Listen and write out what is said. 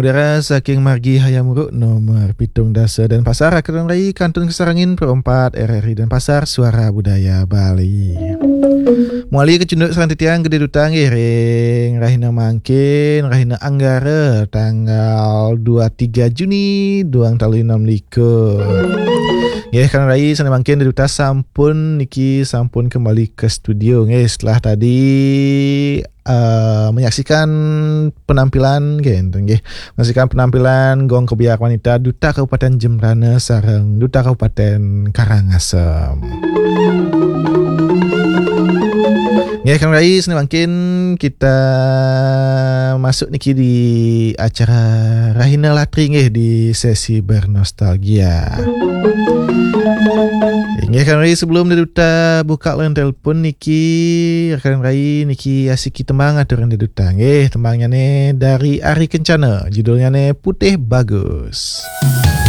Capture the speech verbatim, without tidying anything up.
Udara saking margi Hayam Wuruk nomor pitung dasa Denpasar, rakan rai kantun kasarengin Pro empat R R I Denpasar, Suara Budaya Bali. Mawali kacunduk sareng titiang Gede Duta nggih ring rahina mangkin, rahina Anggara tanggal dua tiga Juni duang tali enam likur. Nggih, rakan rai sane mangkin Gede Duta sampun niki sampun kembali ke studio nggih setelah tadi eh, menyaksikan penampilan nggih, enten nggih. Menyaksikan penampilan Gong Kebiak Wanita Duta Kabupaten Jembrana sareng Duta Kabupaten Karangasem. Nggih, rakan rai sane mangkin kita masuk niki di acara Rahina Latri nggih di sesi bernostalgia. Nggih, rakan rai sebelum Gede Duta buka line telepon niki, rakan rai niki asiki tembang aturan Gede Duta nggih. Tembangnyane dari Ari Kencana, judulnyane Putih Bagus.